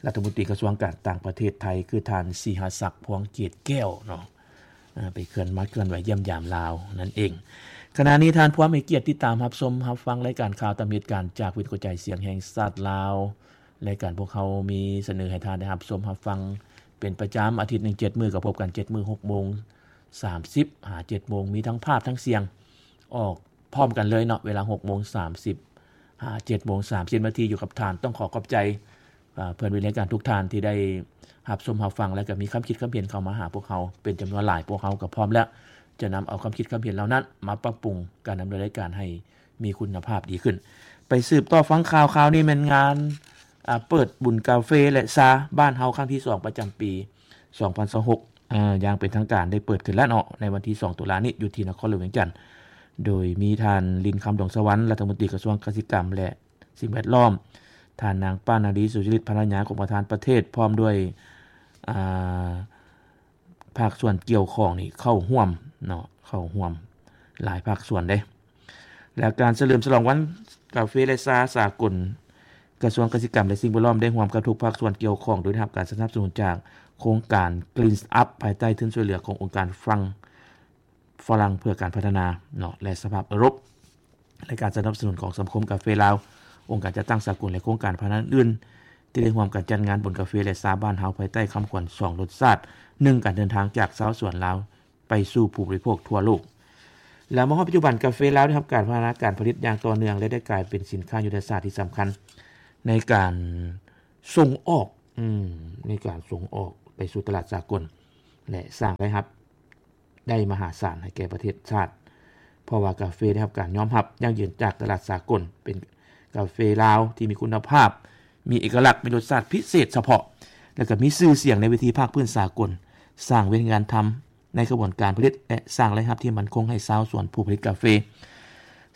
ລັດຖະມົນຕີກະຊວງການຕ່າງປະເທດໄທ ຄືທ່ານ ສີຫະສັກ ພວງເກດແກ້ວເນາະ ອາ ໄປເຄື່ອນ ມາເຄື່ອນໄຫວຢ້ຽມຢາມລາວນັ້ນເອງ. ຂະນະນີ້ທ່ານພວມໃຫ້ກຽດຕິດຕາມຮັບຊົມຮັບຟັງລາຍການຂ່າວຕາມເຫດການຈາກວິທະຍຸກະຈາຍສຽງແຫ່ງຊາດລາວ. ລາຍການພວກເຮົາມີສະເໜີໃຫ້ທ່ານໄດ້ຮັບຊົມຮັບຟັງເປັນປະຈຳ ອາທິດໜຶ່ງເຈັດມື້ ກໍພົບກັນເຈັດມື້ ຫົກໂມງສາມສິບຫາເຈັດໂມງ ມີທັງພາບທັງສຽງອອກ ພ້ອມກັນເລີຍເນາະ ເວລາຫົກໂມງສາມສິບຫາເຈັດໂມງສາມສິບນາທີ ຢູ່ກັບທ່ານ. ຕ້ອງຂໍຂອບໃຈ ເອີ ເພື່ອນວິທະຍາການທຸກທ່ານທີ່ໄດ້ຮັບຊົມຮັບຟັງ ແລະ ກໍມີຄຳຄິດຄຳເຫັນເຂົ້າມາຫາພວກເຮົາເປັນຈຳນວນຫຼາຍ. ພວກເຮົາກໍພ້ອມແລ້ວຈະນຳເອົາຄຳຄິດຄຳເຫັນເຫຼົ່ານັ້ນມາປັບປຸງການດຳເນີນລາຍການໃຫ້ມີຄຸນນະພາບດີຂຶ້ນ. ໄປສືບຕໍ່ຟັງຂ່າວ, ຂ່າວນີ້ແມ່ນງານ ອາ ເປີດບຸນກາເຟ ແລະ ຊາບ້ານເຮົາຄັ້ງທີສອງ ປະຈຳປີສອງພັນຊາວຫົກ ອາ ຢ່າງເປັນທາງການໄດ້ເປີດຂຶ້ນແລ້ວເນາະ ໃນວັນທີສອງ ຕຸລານີ້ ຢູ່ທີ່ນະຄອນຫຼວງວຽງຈັນ ໂດຍມີທ່ານ ລິນຄຳ ດວງສະຫວັນ ລັດຖະມົນຕີກະຊວງກະສິກຳ ແລະ ສິ່ງແວດລ້ອມ, ທ່ານນາງ ປານາລີ ສຸຈະລິດ ພັນລະຍາຂອງປະທານປະເທດ ພ້ອມດ້ວຍ ອາ ພາກສ່ວນກ່ຽວຂ້ອງນີ້ເຂົ້າຮ່ວມເນາະ ເຂົ້າຮ່ວມຫຼາຍພາກສ່ວນເດ້. ແລະ ການສະເຫຼີມສະຫຼອງວັນກາເຟ ແລະ ຊາສາກົນ ກະຊວງກະສິກຳ ແລະ ສິ່ງແວດລ້ອມ ໄດ້ຮ່ວມກັບທຸກພາກສ່ວນກ່ຽວຂ້ອງ ໂດຍໄດ້ຮັບການສະໜັບສະໜູນຈາກໂຄງການ Clean Up ພາຍໃຕ້ທຶນຊ່ວຍເຫຼືອຂອງອົງການຝຣັ່ງ ຝຣັ່ງເພື່ອການພັດທະນາເນາະ ແລະ ສະພາບເອີຣົບ ແລະ ການສະໜັບສະໜູນຂອງສະມາຄົມກາເຟລາວ, ອົງການຈັດຕັ້ງສາກົນ ແລະ ໂຄງການພັດທະນາອື່ນໆ ທີ່ໄດ້ຮ່ວມກັນຈັດງານບຸນກາເຟ ແລະ ຊາບ້ານເຮົາ ພາຍໃຕ້ຄຳຂວັນສອງລົດຊາດ ໜຶ່ງການເດີນທາງຈາກຊາວສວນລາວ ໄປສູ່ຜູ້ບໍລິໂພກທົ່ວໂລກ. ແລະ ມາຮອດປັດຈຸບັນ ກາເຟລາວໄດ້ຮັບການພັດທະນາການຜະລິດຢ່າງຕໍ່ເນື່ອງ ແລະ ໄດ້ກາຍເປັນສິນຄ້າຍຸດທະສາດທີ່ສຳຄັນໃນການສົ່ງອອກ ອືມ ໃນການສົ່ງອອກ ໄປສູ່ຕະຫຼາດສາກົນ ແລະ ສ້າງລາຍຮັບໄດ້ມະຫາສານໃຫ້ແກ່ປະເທດຊາດ, ເພາະວ່າກາເຟໄດ້ຮັບການຍອມຮັບຢັ້ງຢືນຈາກຕະຫຼາດສາກົນ, ເປັນກາເຟລາວທີ່ມີຄຸນນະພາບ, ມີເອກະລັກ, ມີລົດຊາດພິເສດສະເພາະ ແລະ ກໍມີຊື່ສຽງໃນເວທີພາກພື້ນສາກົນ, ສ້າງວຽກງານທຳ ໃນຂະບວນການຜະລິດ ແລະ ສ້າງລາຍຮັບທີ່ໝັ້ນຄົງໃຫ້ຊາວສວນຜູ້ຜະລິດກາເຟ.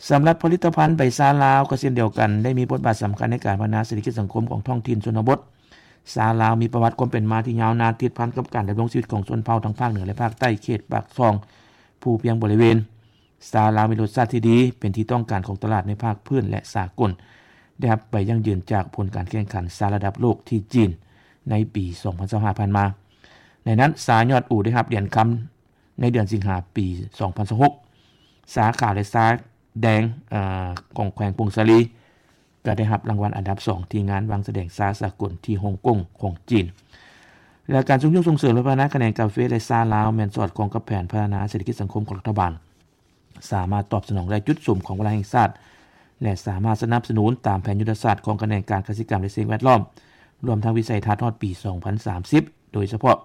ສຳລັບຜະລິດຕະພັນໃບຊາລາວກໍເຊັ່ນດຽວກັນ ໄດ້ມີບົດບາດສຳຄັນໃນການພັດທະນາເສດຖະກິດສັງຄົມຂອງທ້ອງຖິ່ນຊົນນະບົດ. ຊາລາວມີປະຫວັດຄວາມເປັນມາທີ່ຍາວນານ ຕິດພັນກັບການດຳລົງຊີວິດຂອງຊົນເຜົ່າທັງພາກເໜືອ ແລະ ພາກໃຕ້ ເຂດປາກຊ່ອງ ພູພຽງບໍລິເວນ. ຊາລາວມີລົດຊາດທີ່ດີ, ເປັນທີ່ຕ້ອງການຂອງຕະຫຼາດໃນພາກພື້ນ ແລະ ສາກົນ, ໄດ້ຮັບໃບຢັ້ງຢືນຈາກຜົນການແຂ່ງຂັນຊາລະດັບໂລກທີ່ຈີນໃນປີສອງພັນຊາວຫ້າຜ່ານມາ. ໃນນັ້ນ ຊາຍອດອູໄດ້ຮັບຫຼຽນຄຳໃນເດືອນສິງຫາປີສອງພັນຊາວຫົກ, ຊາຂາວ ແລະ ຊາແດງ ເອີ ຂອງແຂວງຜົ້ງສາລີ ກໍໄດ້ຮັບລາງວັນອັນດັບສອງທີ່ງານວາງສະແດງຊາສາກົນທີ່ຮົງກົງຂອງຈີນ. ແລະ ການຊຸກຍູ້ສົ່ງເສີມ ແລະ ພັດທະນາຂະແໜງກາເຟ ແລະ ຊາລາວ ແມ່ນສອດຄ່ອງກັບແຜນພັດທະນາເສດຖະກິດສັງຄົມຂອງລັດຖະບານ, ສາມາດຕອບສະໜອງໄດ້ຈຸດສຸມຂອງວາລະແຫ່ງຊາດ ແລະ ສາມາດສະໜັບສະໜູນຕາມແຜນຍຸດທະສາດຂອງຂະແໜງການກະສິກຳ ແລະ ສິ່ງແວດລ້ອມ, ລວມທັງວິໄສທັດຮອດປີສອງພັນສາມສິບ ໂດຍສະເພາະ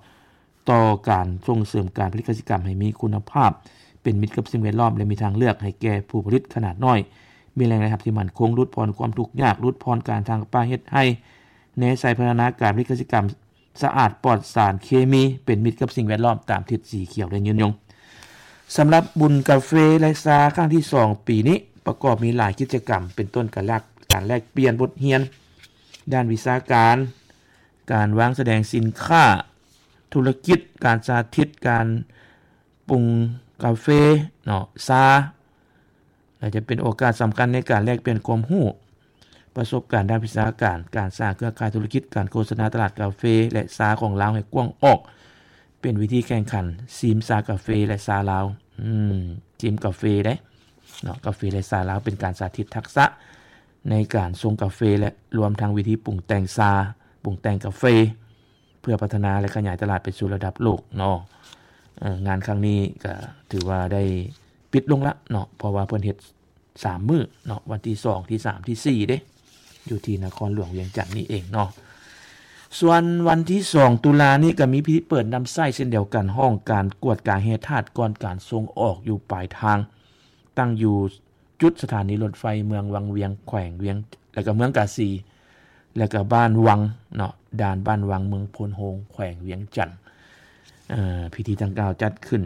ຕໍ່ການສົ່ງເສີມການຜະລິດກະສິກຳໃຫ້ມີຄຸນນະພາບ, ເປັນມິດກັບສິ່ງແວດລ້ອມ ແລະ ມີທາງເລືອກໃຫ້ແກ່ຜູ້ຜະລິດຂະໜາດນ້ອຍ, ມີແຫຼ່ງລາຍຮັບທີ່ໝັ້ນຄົງ, ຫຼຸດຜ່ອນຄວາມທຸກຍາກ, ຫຼຸດຜ່ອນການທາງປ່າເຮັດໄຮ່, ແນໃສ່ພັດທະນາການຜະລິດກະສິກຳ ສະອາດປອດສານເຄມີ, ເປັນມິດກັບສິ່ງແວດລ້ອມຕາມທິດສີຂຽວ ແລະ ຍືນຍົງ. ສຳລັບບຸນກາເຟ ແລະ ຊາຄັ້ງທີສອງປີນີ້ ປະກອບມີຫຼາຍກິດຈະກຳ ເປັນຕົ້ນການແລກ ການແລກປ່ຽນບົດຮຽນດ້ານວິຊາການ, ການວາງສະແດງສິນຄ້າ, ທຸລະກິດ, ການສາທິດການປຸງກາເຟເນາະ, ຊາ ແລະ ຈະເປັນໂອກາດສຳຄັນໃນການແລກປ່ຽນຄວາມຮູ້, ປະສົບການດ້ານວິຊາການ, ການສ້າງເຄືອຂ່າຍທຸລະກິດ, ການໂຄສະນາຕະຫຼາດກາເຟ ແລະ ຊາຂອງລາວໃຫ້ກວ້າງອອກ, ເປັນເວທີແຂ່ງຂັນຊີມຊາກາເຟ ແລະ ຊາລາວ, ອືມ ຊີມກາເຟເດ້ເນາະ, ກາເຟ ແລະ ຊາລາວ ເປັນການສາທິດທັກສະໃນການຊົງກາເຟ ແລະ ລວມທັງວິທີປຸງແຕ່ງຊາ, ປຸງແຕ່ງກາເຟ ເພື່ອພັດທະນາ ແລະ ຂະຫຍາຍຕະຫຼາດໄປສູ່ລະດັບໂລກເນາະ. ເອີ ງານຄັ້ງນີ້ກໍຖືວ່າໄດ້ປິດລົງລະເນາະ, ເພາະວ່າເພິ່ນເຮັດສາມມື້ເນາະ, ວັນທີສອງ ທີສາມ ທີສີ່ເດ້, ຢູ່ທີ່ນະຄອນຫຼວງວຽງຈັນນີ້ເອງເນາະ. ສ່ວນວັນທີສອງຕຸລານີ້ກໍມີພິທີເປີດນຳໃຊ້ເຊັ່ນດຽວກັນ, ຫ້ອງການກວດກາແຮ່ທາດກ່ອນການສົ່ງອອກຢູ່ປາຍທາງ, ຕັ້ງຢູ່ ຈຸດສະຖານີລົດໄຟເມືອງວັງວຽງ ແຂວງວຽງ ແລະ ກໍເມືອງກາສີ ແລະ ກໍບ້ານວັງເນາະ, ດ່ານບ້ານວັງ ເມືອງໂພນໂຮງ ແຂວງວຽງຈັນ. ເອີ ພິທີດັ່ງກ່າວຈັດຂຶ້ນ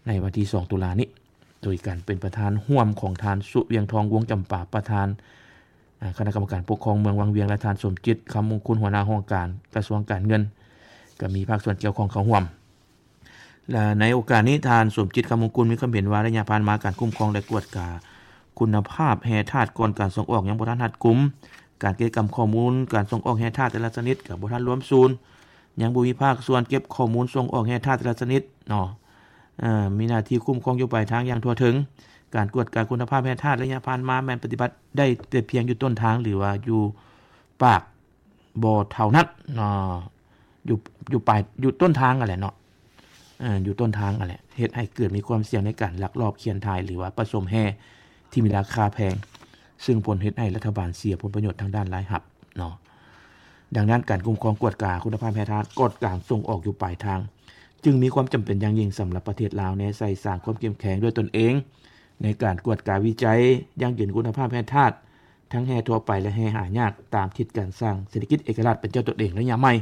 ໃນວັນທີສອງຕຸລານີ້ ໂດຍການເປັນປະທານຮ່ວມຂອງທ່ານ ສຸວຽງທອງ ວົງຈຳປາ ປະທານ ອາ ຄະນະກຳມະການປົກຄອງເມືອງວັງວຽງ ແລະ ທ່ານ ສົມຈິດ ຄຳມຸງຄຸນ ຫົວໜ້າຫ້ອງການກະຊວງການເງິນ ກໍມີພາກສ່ວນກ່ຽວຂ້ອງເຂົ້າຮ່ວມ. ແລະ ໃນໂອກາດນີ້ ທ່ານ ສົມຈິດ ຄຳມຸງຄຸນ ມີຄວາມເຫັນວ່າ ໄລຍະຜ່ານມາ ການຄຸ້ມຄອງ ແລະ ກວດກາຄຸນນະພາບແຮ່ທາດກ່ອນການສົ່ງອອກ ຍັງບໍ່ທັນຮັດກຸມ, ການເກັບກຳຂໍ້ມູນການສົ່ງອອກແຮ່ທາດແຕ່ລະຊະນິດກໍບໍ່ທັນລວມສູນ, ຍັງບໍ່ມີພາກສ່ວນເກັບຂໍ້ມູນສົ່ງອອກແຮ່ທາດແຕ່ລະຊະນິດເນາະ, ເອີ ມີໜ້າທີ່ຄຸ້ມຄອງຢູ່ປາຍທາງຢ່າງທົ່ວເຖິງ. ການກວດກາຄຸນນະພາບແຮ່ທາດໄລຍະຜ່ານມາ ແມ່ນປະຕິບັດໄດ້ແຕ່ພຽງຢູ່ຕົ້ນທາງ ຫຼືວ່າຢູ່ປາກ ບໍ່ເທົ່ານັ້ນເນາະ, ຢູ່ ຢູ່ປາຍ ຢູ່ຕົ້ນທາງຫັ້ນແຫຼະເນາະ, ເອີ ຢູ່ຕົ້ນທາງຫັ້ນແຫຼະ, ເຮັດໃຫ້ເກີດມີຄວາມສ່ຽງໃນການລັກລອບຂຽນຖ່າຍ ຫຼືວ່າປະສົມແຮ່ທີ່ມີລາຄາແພງ, ຊຶ່ງຜົນເຮັດໃຫ້ລັດຖະບານເສຍຜົນປະໂຫຍດທາງດ້ານລາຍຮັບເນາະ. ດັ່ງນັ້ນ ການຄຸ້ມຄອງກວດກາຄຸນນະພາບແຮ່ທາດກ່ອນການສົ່ງອອກຢູ່ປາຍທາງ ຈຶ່ງມີຄວາມຈຳເປັນຢ່າງຍິ່ງສຳລັບປະເທດລາວ ແນໃສ່ສ້າງຄວາມເຂັ້ມແຂງດ້ວຍຕົນເອງ ໃນການກວດກາວິໄຈ, ຢັ້ງຢືນຄຸນນະພາບແຮ່ທາດ ທັງແຮ່ທົ່ວໄປ ແລະ ແຮ່ຫາຍາກ ຕາມທິດການສ້າງເສດຖະກິດເອກະລາດເປັນເຈົ້າຕົນເອງໄລຍະໃໝ່,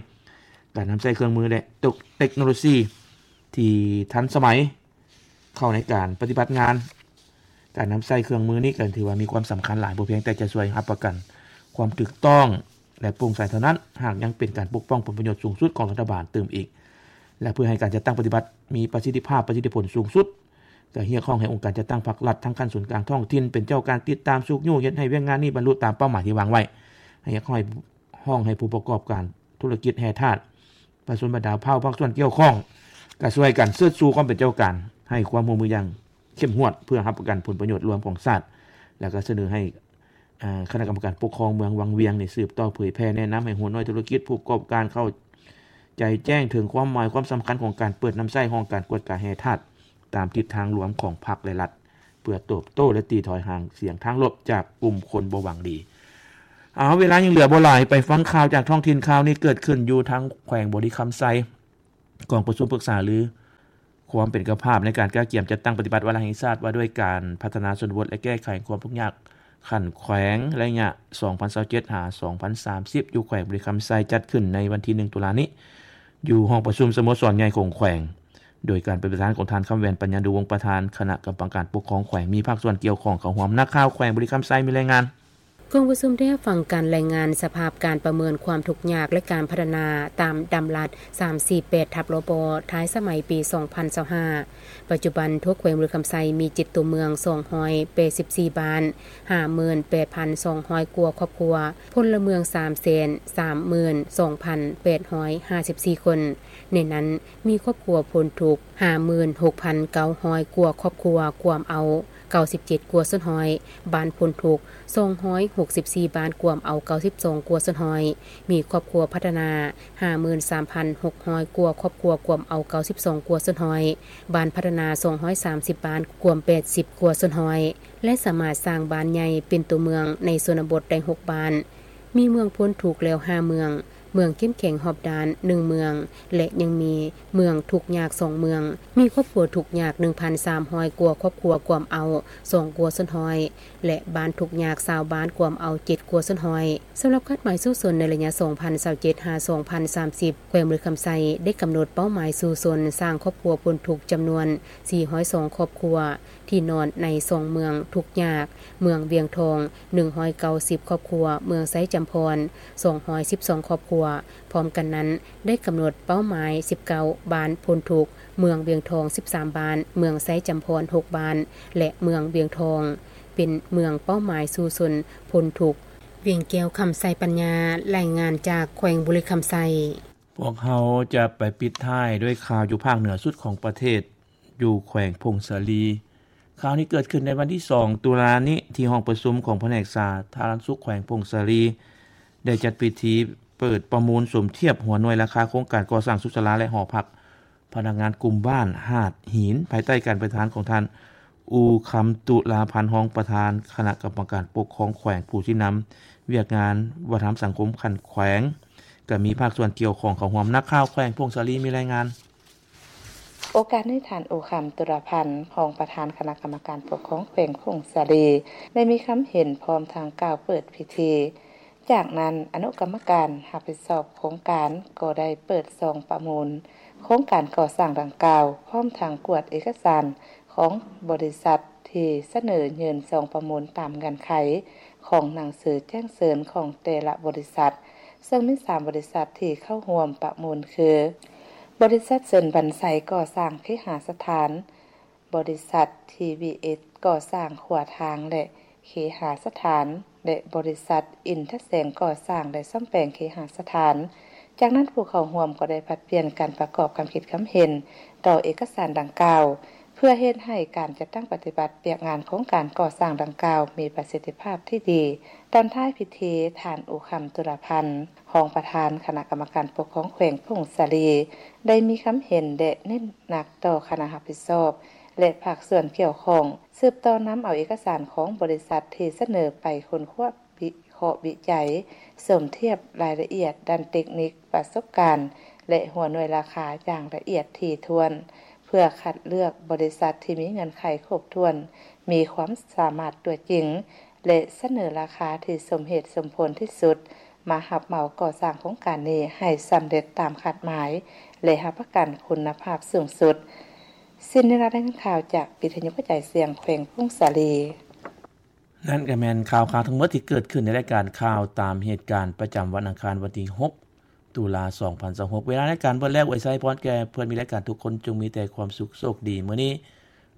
ການນຳໃຊ້ເຄື່ອງມື ແລະ ເຕັກໂນໂລຊີທີ່ທັນສະໄໝເຂົ້າໃນການປະຕິບັດງານ. ການນຳໃຊ້ເຄື່ອງມືນີ້ກໍຖືວ່າມີຄວາມສຳຄັນຫຼາຍ, ບໍ່ພຽງແຕ່ຈະຊ່ວຍຮັບປະກັນຄວາມຖືກຕ້ອງ ແລະ ໂປ່ງໃສເທົ່ານັ້ນ, ຫາກຍັງເປັນການປົກປ້ອງຜົນປະໂຫຍດສູງສຸດຂອງລັດຖະບານຕື່ມອີກ. ແລະ ເພື່ອໃຫ້ການຈັດຕັ້ງປະຕິບັດມີປະສິດທິພາບ, ປະສິດທິຜົນສູງສຸດ, ກໍຮຽກຮ້ອງໃຫ້ອົງການຈັດຕັ້ງພາກລັດ ທັງຂັ້ນສູນກາງ, ທ້ອງຖິ່ນ ເປັນເຈົ້າການຕິດຕາມ, ຊຸກຍູ້, ເຮັດໃຫ້ວຽກງານນີ້ບັນລຸຕາມເປົ້າໝາຍທີ່ວາງໄວ້. ຮຽກຮ້ອງໃຫ້ ຮ້ອງໃຫ້ຜູ້ປະກອບການທຸລະກິດແຮ່ທາດ, ປະຊາຊົນບັນດາເຜົ່າພາກສ່ວນກ່ຽວຂ້ອງ ກໍຊ່ວຍກັນເຊີດຊູຄວາມເປັນເຈົ້າການ, ໃຫ້ຄວາມຮ່ວມມືຢ່າງເຂັ້ມງວດ ເພື່ອຮັບປະກັນຜົນປະໂຫຍດລວມຂອງຊາດ, ແລ້ວກໍສະເໜີໃຫ້ ອາ ຄະນະກຳມະການປົກຄອງເມືອງວັງວຽງນີ້ ສືບຕໍ່ເຜີຍແຜ່ແນະນຳໃຫ້ຫົວໜ່ວຍທຸລະກິດ, ຜູ້ປະກອບການເຂົ້າໃຈແຈ້ງເຖິງຄວາມໝາຍຄວາມສຳຄັນຂອງການເປີດນຳໃຊ້ຫ້ອງການກວດກາແຮ່ທາດ ຕາມທິດທາງລວມຂອງພັກ ແລະ ລັດ ເພື່ອຕອບໂຕ້ ແລະ ຕີຖອຍຫາງສຽງທາງລົບຈາກກຸ່ມຄົນບໍ່ຫວັງດີ. ເອົາ ເວລາຍັງເຫຼືອບໍ່ຫຼາຍ ໄປຟັງຂ່າວຈາກທ້ອງຖິ່ນ. ຂ່າວນີ້ເກີດຂຶ້ນຢູ່ທາງແຂວງບໍລິຄຳໄຊ. ກອງປະຊຸມປຶກສາລືຄວາມເປັນເຈົ້າພາບໃນການກະກຽມຈັດຕັ້ງປະຕິບັດວາລະແຫ່ງຊາດວ່າດ້ວຍການພັດທະນາຊົນນະບົດ ແລະ ແກ້ໄຂຄວາມທຸກຍາກຂັ້ນແຂວງ ໄລຍະ ສອງພັນຊາວເຈັດ ຫາ ສອງພັນສາມສິບ ຢູ່ແຂວງບໍລິຄຳໄຊ ຈັດຂຶ້ນໃນວັນທີໜຶ່ງ ຕຸລານີ້ ຢູ່ຫ້ອງປະຊຸມສະໂມສອນໃຫຍ່ຂອງແຂວງ ໂດຍການເປັນປະທານຂອງທ່ານ ຄຳແຫວນ ປັນຍາດຸວົງ ປະທານຄະນະກຳມະການປົກຄອງແຂວງ, ມີພາກສ່ວນກ່ຽວຂ້ອງເຂົ້າຮ່ວມ. ນັກຂ່າວແຂວງບໍລິຄຳໄຊມີລາຍງານ. ກອງປະຊຸມໄດ້ຮັບຟັງການລາຍງານສະພາບການປະເມີນຄວາມທຸກຍາກ ແລະ ການພັດທະນາຕາມດຳລັດ ສາມສີ່ແປດ ທັບ ລປ ທ້າຍສະໄໝປີ ສອງພັນຊາວຫ້າ. ປັດຈຸບັນທົ່ວແຂວງບໍລິຄຳໄຊມີເຈັດຕົວເມືອງ ສອງຮ້ອຍແປດສິບສີ່ບ້ານ ຫ້າໝື່ນແປດພັນສອງຮ້ອຍກວ່າຄອບຄົວ, ພົນລະເມືອງ ສາມແສນສາມໝື່ນສອງພັນແປດຮ້ອຍຫ້າສິບສີ່ຄົນ. ໃນນັ້ນມີຄອບຄົວພົ້ນທຸກ ຫ້າໝື່ນຫົກພັນເກົ້າຮ້ອຍກວ່າຄອບຄົວ ກວມເອົາ ເກົ້າສິບເຈັດກວ່າສ່ວນຮ້ອຍ, ບ້ານພົ້ນທຸກ ສອງຮ້ອຍຫົກສິບສີ່ບ້ານ ກວມເອົາ ເກົ້າສິບສອງກວ່າສ່ວນຮ້ອຍ, ມີຄອບຄົວພັດທະນາ ຫ້າໝື່ນສາມພັນຫົກຮ້ອຍກວ່າຄອບຄົວ ກວມເອົາ ເກົ້າສິບສອງກວ່າສ່ວນຮ້ອຍ, ບ້ານພັດທະນາ ສອງຮ້ອຍສາມສິບບ້ານ ກວມ ແປດສິບກວ່າສ່ວນຮ້ອຍ ແລະ ສາມາດສ້າງບ້ານໃຫຍ່ເປັນຕົວເມືອງໃນຊົນນະບົດໄດ້ ຫົກບ້ານ. ມີເມືອງພົ້ນທຸກແລ້ວ ຫ້າເມືອງ, ເມືອງເຂັ້ມແຂງຮອບດ້ານ ໜຶ່ງເມືອງ ແລະ ຍັງມີເມືອງທຸກຍາກ ສອງເມືອງ, ມີຄອບຄົວທຸກຍາກ ໜຶ່ງພັນສາມຮ້ອຍກວ່າຄອບຄົວ ກວມເອົາ ສອງກວ່າສ່ວນຮ້ອຍ ແລະ ບ້ານທຸກຍາກ ຊາວບ້ານ ກວມເອົາ ເຈັດກວ່າສ່ວນຮ້ອຍ. ສຳລັບຄາດໝາຍສູ້ຊົນໃນໄລຍະ ສອງພັນຊາວເຈັດ ຫາ ສອງພັນສາມສິບ ແຂວງບໍລິຄຳໄຊໄດ້ກຳນົດເປົ້າໝາຍສູ້ຊົນສ້າງຄອບຄົວພົ້ນທຸກ ຈຳນວນ ສີ່ຮ້ອຍສອງຄອບຄົວ ທີ່ນອນໃນສອງເມືອງທຸກຍາກ, ເມືອງວຽງທອງ ໜຶ່ງຮ້ອຍເກົ້າສິບຄອບຄົວ, ເມືອງໄຊຈຳພອນ ສອງຮ້ອຍສິບສອງຄອບຄົວ. ພ້ອມກັນນັ້ນ ໄດ້ກຳນົດເປົ້າໝາຍ ສິບເກົ້າບ້ານພົ້ນທຸກ, ເມືອງວຽງທອງ ສິບສາມບ້ານ, ເມືອງໄຊຈຳພອນ ຫົກບ້ານ ແລະ ເມືອງວຽງທອງ ເປັນເມືອງເປົ້າໝາຍສູ້ຊົນພົ້ນທຸກ. ວຽງແກ້ວ ຄຳໄຊປັນຍາ ລາຍງານຈາກແຂວງບໍລິຄຳໄຊ. ພວກເຮົາຈະໄປປິດທ້າຍດ້ວຍຂ່າວຢູ່ພາກເໜືອສຸດຂອງປະເທດ ຢູ່ແຂວງຜົ້ງສາລີ. ຂ່າວນີ້ເກີດຂຶ້ນໃນວັນທີສອງ ຕຸລານີ້ ທີ່ຫ້ອງປະຊຸມຂອງພະແນກສາທາລະນະສຸກແຂວງຜົ້ງສາລີ ໄດ້ຈັດພິທີເປີດປະມູນສົມທຽບຫົວໜ່ວຍລາຄາໂຄງການກໍ່ສ້າງສຸກສາລາ ແລະ ຫໍພັກພະນັກງານກຸ່ມບ້ານຫາດຫີນ ພາຍໃຕ້ການປະທານຂອງທ່ານ ອູຄຳ ຕຸລາພັນ ຮອງປະທານຄະນະກຳມະການປົກຄອງແຂວງ ຜູ້ຊີ້ນຳວຽກງານວັດທະນະທຳສັງຄົມຂັ້ນແຂວງ, ກໍມີພາກສ່ວນກ່ຽວຂ້ອງເຂົ້າຮ່ວມ. ນັກຂ່າວແຂວງຜົ້ງສາລີມີລາຍງານ. ໂອກາດນີ້ ທ່ານ ອູຄຳ ຕຸລາພັນ ຮອງປະທານຄະນະກຳມະການປົກຄອງແຂວງຜົ້ງສາລີ ໄດ້ມີຄຳເຫັນພ້ອມທັງກ່າວເປີດພິທີ. ຈາກນັ້ນ ອະນຸກຳມະການຮັບຜິດຊອບໂຄງການກໍໄດ້ເປີດຊອງປະມູນໂຄງການກໍ່ສ້າງດັ່ງກ່າວ, ພ້ອມທັງກວດເອກະສານຂອງບໍລິສັດທີ່ສະເໜີຍື່ນຊອງປະມູນຕາມເງື່ອນໄຂຂອງໜັງສືແຈ້ງເຊີນຂອງແຕ່ລະບໍລິສັດ, ເຊິ່ງມີສາມບໍລິສັດທີ່ເຂົ້າຮ່ວມປະມູນຄື ບໍລິສັດເຊີນບັນໄຊກໍ່ສ້າງເຄຫະສະຖານ, ບໍລິສັດ ທີວີເອັສ ກໍ່ສ້າງຂົວທາງ ແລະ ເຄຫະສະຖານ ແລະ ບໍລິສັດ ອິນທະແສງ ກໍ່ສ້າງ ແລະ ສ້ອມແປງເຄຫະສະຖານ. ຈາກນັ້ນ ຜູ້ເຂົ້າຮ່ວມກໍໄດ້ຜັດປ່ຽນການປະກອບຄຳຄິດຄຳເຫັນຕໍ່ເອກະສານດັ່ງກ່າວ ເພື່ອເຮັດໃຫ້ການຈັດຕັ້ງປະຕິບັດວຽກງານໂຄງການກໍ່ສ້າງດັ່ງກ່າວມີປະສິດທິພາບທີ່ດີ. ຕອນທ້າຍພິທີ ທ່ານ ອູຄຳ ຕຸລາພັນ ຮອງປະທານຄະນະກຳມະການປົກຄອງແຂວງຜົ້ງສາລີ ໄດ້ມີຄຳເຫັນ ແລະ ເນັ້ນໜັກຕໍ່ຄະນະຮັບຜິດຊອບ ແລະ ພາກສ່ວນກ່ຽວຂ້ອງ ສືບຕໍ່ນຳເອົາເອກະສານຂອງບໍລິສັດທີ່ສະເໜີໄປຄົ້ນຄວ້າ ວິເຄາະວິໄຈ, ສົມທຽບລາຍລະອຽດດ້ານເຕັກນິກ, ປະສົບການ ແລະ ຫົວໜ່ວຍລາຄາຢ່າງລະອຽດຖີ່ຖ້ວນ ເພື່ອຄັດເລືອກບໍລິສັດທີ່ມີເງື່ອນໄຂຄົບຖ້ວນ, ມີຄວາມສາມາດຕົວຈິງ ແລະ ສະເໜີລາຄາທີ່ສົມເຫດສົມຜົນທີ່ສຸດ ມາຮັບເໝົາກໍ່ສ້າງໂຄງການນີ້ໃຫ້ສຳເລັດຕາມຄາດໝາຍ ແລະ ຮັບປະກັນຄຸນນະພາບສູງສຸດ. ສິ້ນນິລາດ ລາຍງານຂ່າວຈາກວິທະຍຸກະຈາຍສຽງແຂວງຜົ້ງສາລີ. ນັ້ນກໍແມ່ນຂ່າວຄາວທັງໝົດທີ່ເກີດຂຶ້ນໃນລາຍການຂ່າວຕາມເຫດການປະຈຳວັນອັງຄານ ວັນທີຫົກ ຕຸລາ ສອງພັນຊາວຫົກ. ເວລາລາຍການເບິດແລ້ວ, ອວຍໄຊພອນແກ່ເພື່ອນມີລາຍການທຸກຄົນ ຈົ່ງມີແຕ່ຄວາມສຸກໂຊກດີ. ມື້ນີ້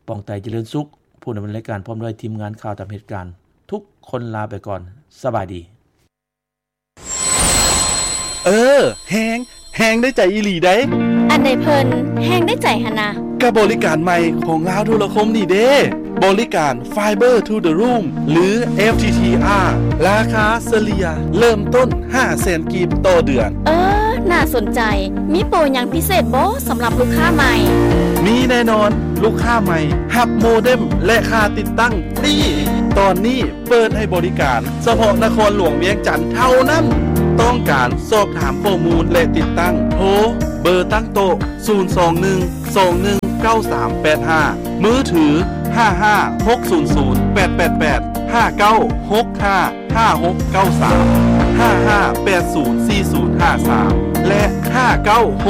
ປອງໄຕ ຈະເລີນສຸກ, ຜູ້ດຳເນີນລາຍການ ພ້ອມດ້ວຍທີມງານຂ່າວຕາມເຫດການ ທຸກຄົນລາໄປກ່ອນ. ສະບາຍດີ. ເອີ ແຮງ ແຮງໄດ້ໃຈອີ່ຫຼີໃດ໋. ອັນໃດເພິ່ນແຮງໄດ້ໃຈຫັ້ນນະ? ກະບໍລິການໃໝ່ຂອງລາວໂທລະຄົມນີ້ເດ້ ບໍລິການ Fiber to the Room ຫຼື FTTR ລາຄາສະເລ່ຍເລີ່ມຕົ້ນຫ້າແສນກີບຕໍ່ເດືອນ. ເອີ ໜ້າສົນໃຈ. ມີໂປຣຫຍັງພິເສດບໍ່ສຳລັບລູກຄ້າໃໝ່? ມີແນ່ນອນ, ລູກຄ້າໃໝ່ຮັບໂມເດັມ ແລະ ຄ່າຕິດຕັ້ງຟຣີ. ຕອນນີ້ເປີດໃຫ້ບໍລິການສະເພາະນະຄອນຫຼວງວຽງຈັນເທົ່ານັ້ນ. ຕ້ອງການສອບຖາມຂໍ້ມູນ ແລະ ຕິດຕັ້ງ ໂທເບີຕັ້ງໂຕະ ສູນສອງໜຶ່ງ ສອງໜຶ່ງເກົ້າສາມແປດຫ້າ, ມືຖື ຫ້າຫ້າຫົກສູນສູນແປດແປດແປດ, ຫ້າເກົ້າຫົກຫ້າຫ້າຫົກເກົ້າສາມ, ຫ້າຫ້າແປດສູນສີ່ສູນຫ້າສາມ ແລະ ຫ້າເກົ້າ